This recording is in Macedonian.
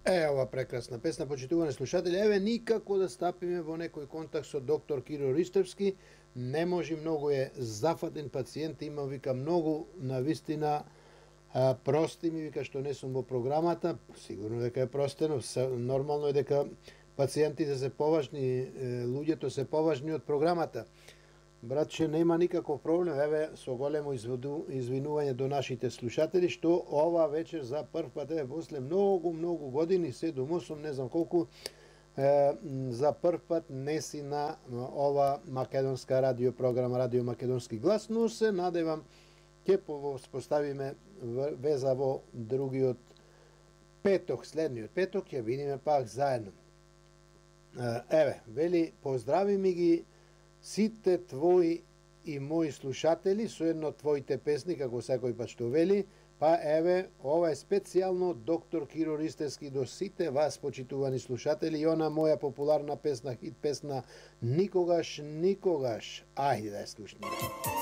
Ова прекрасна песна, почитувани слушатели. Еве, никако да стапиме во некој контакт со доктор Киро Ристевски. Не може, многу е зафатен пациент, има, вика, многу навистина прости ми, вика, што не сум во програмата. Сигурно дека е простено, нормално е дека пациентите се поважни, луѓето се поважни од програмата. Братче, нема никаков проблем, еве, со големо извинување до нашите слушатели, што ова вечер за прв пат, еве, после многу години, 7-8, не знам колку, за прв пат неси на ова македонска радиопрограма, Радио Македонски глас, но се надевам ќе воспоставиме веза во другиот петок, следниот петок, ќе видиме пак заедно. Еве, вели, поздрави ми ги сите твои и мои слушатели со едно твоите песни, како секој пат што вели, па еве, ова е специјално доктор Киро Ристевски до сите вас, почитувани слушатели, и она моја популарна песна, хит песна Никогаш, никогаш. Ајде да ја слушнеме.